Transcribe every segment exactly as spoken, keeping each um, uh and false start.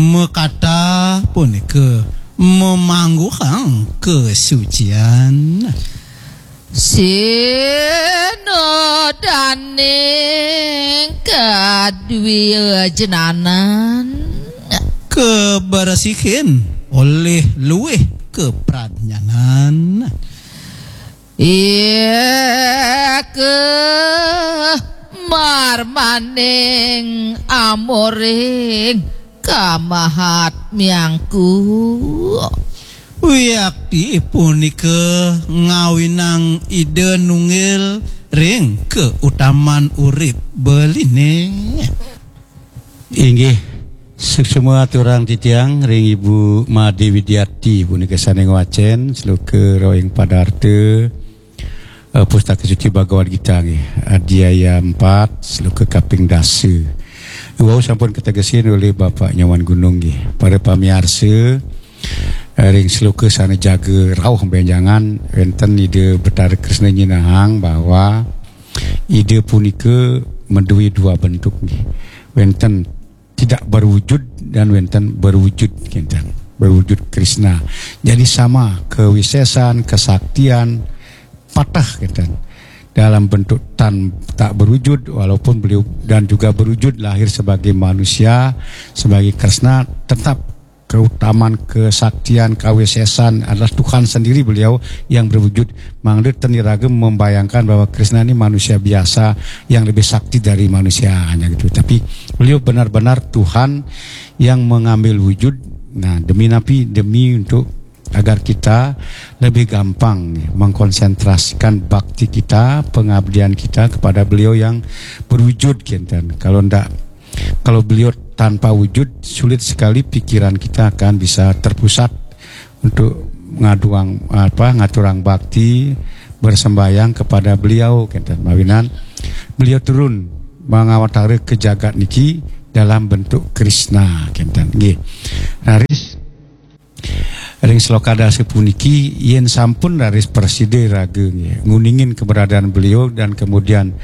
Makata punika mamangguhang kasucian. Sinodaning kadwijenanan. Kabersihin olih luih kapradnyanan. Ika marmaning amoring kamahatmyangku. Wiakti punika ngawinang Ida nunggil ring kautaman urip beline. Inggih, suksma aturang titiang ring Ibu Made Widiati punika sane ngwacen sloka ring Padarta, eh, Pustaka Suci Bhagavad Gita nggih, Adhyaya empat, sloka kaping dasa. Wau sampun kategesin oleh Bapak Nyoman Gunung nggih. Para pamiarsa, eh, ring sloka sane jaga rauh benjangan wenten Ida Betara Kresna nyinahang bahwa Ida punika madue dua bentuk nggih. Wenten tidak berwujud dan wenten berwujud kinten. Berwujud Krishna. Jadi sama kewisesan, kesaktian, patah kinten. Dalam bentuk tan tak berwujud, walaupun beliau dan juga berwujud lahir sebagai manusia, sebagai Krishna, tetap keutamaan, kesaktian, kawisesan adalah Tuhan sendiri beliau yang berwujud. Mangda ten iraga membayangkan bahwa Krishna ini manusia biasa yang lebih sakti dari manusia hanya gitu. Tapi beliau benar-benar Tuhan yang mengambil wujud. Nah, demi napi? Demi untuk agar kita lebih gampang mengkonsentrasikan bakti kita, pengabdian kita kepada beliau yang berwujud kinten. Kalau ndak, kalau beliau tanpa wujud, sulit sekali pikiran kita akan bisa terpusat untuk ngaduang apa, ngaturang bakti, bersembahyang kepada beliau kinten. Mawinan beliau turun mangawatara ke jagat niki dalam bentuk Krishna kinten. Nggih. Raris ring sloka dasa puniki, yen sampun raris prasida raga nggih, nguningin keberadaan beliau dan kemudian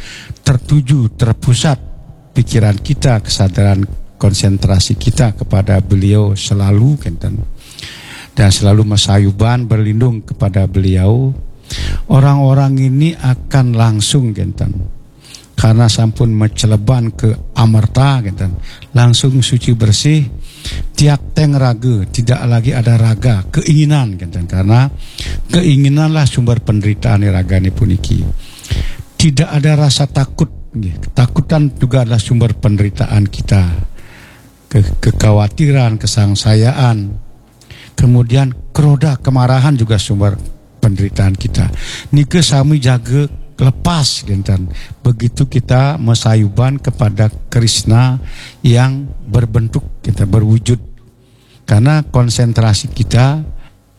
tertuju, terpusat pikiran kita, kesadaran, konsentrasi kita kepada beliau selalu kinten. Dan selalu masayuban berlindung kepada beliau. Orang-orang ini akan langsung kinten. Karena sampun maceleban ke amerta kinten. Langsung suci bersih, tiak teng raga, tidak lagi ada raga, keinginan kinten. Karena keinginanlah sumber penderitaan ragane puniki. Tidak ada rasa takut, nggih. Ketakutan juga adalah sumber penderitaan kita. Ke-, kekhawatiran, kesangsayaan, kemudian kroda, kemarahan juga sumber penderitaan kita. Nika sami jaga lepas kinten. Begitu kita masayuban kepada Krishna yang berbentuk, kita berwujud. Karena konsentrasi kita,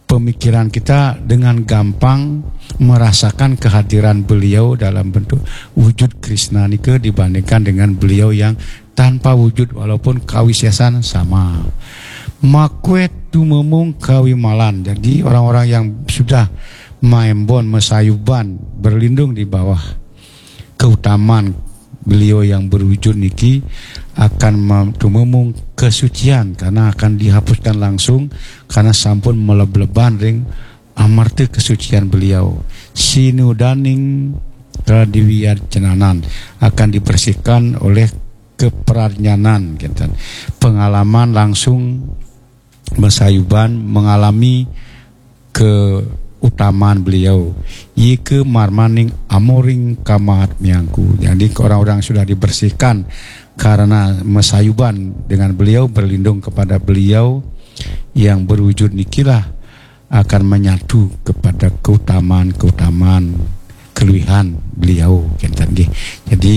pemikiran kita dengan gampang merasakan kehadiran beliau dalam bentuk wujud Krishna nika dibandingkan dengan beliau yang tanpa wujud walaupun kawisesan sama. Makwe tumemung kawimalan. Jadi orang-orang yang sudah maembon, masayuban, berlindung di bawah keutamaan beliau yang berwujud niki akan mem-, tumemung kesucian karena akan dihapuskan langsung karena sampun melebleban ring amarta kesucian beliau. Sinudaning kadiwiyacenanan akan dibersihkan oleh kepradnyanan, kinten. Pengalaman langsung masayuban mengalami keutamaan beliau. Yika marmaning amoring kamahatmyangku. Jadi orang-orang sudah dibersihkan karena masayuban dengan beliau, berlindung kepada beliau yang berwujud nikilah akan menyatu kepada keutamaan-keutamaan keluihan beliau, kinten nggih. Jadi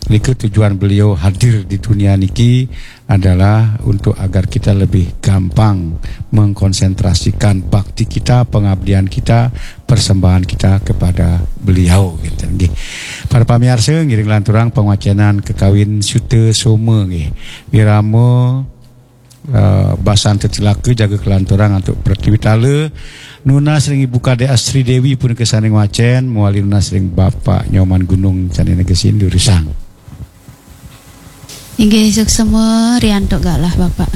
nika tujuan beliau hadir di dunia niki adalah untuk agar kita lebih gampang mengkonsentrasikan bakti kita, pengabdian kita, persembahan kita kepada beliau, kinten nggih. Para pamiarsa, ngiring lanturang pangwacenan kakawin Suta Soma nggih. Wirama, eh, basan tetilaka jaga kelanturang antuk Pratiwitala. Nunas ring Ibu Kadek Astri Dewi punika sane ngwacen, mawali nunas ring Bapak Nyoman Gunung sane negesin durusang. Inggih, suksema riantuk galah, Bapak.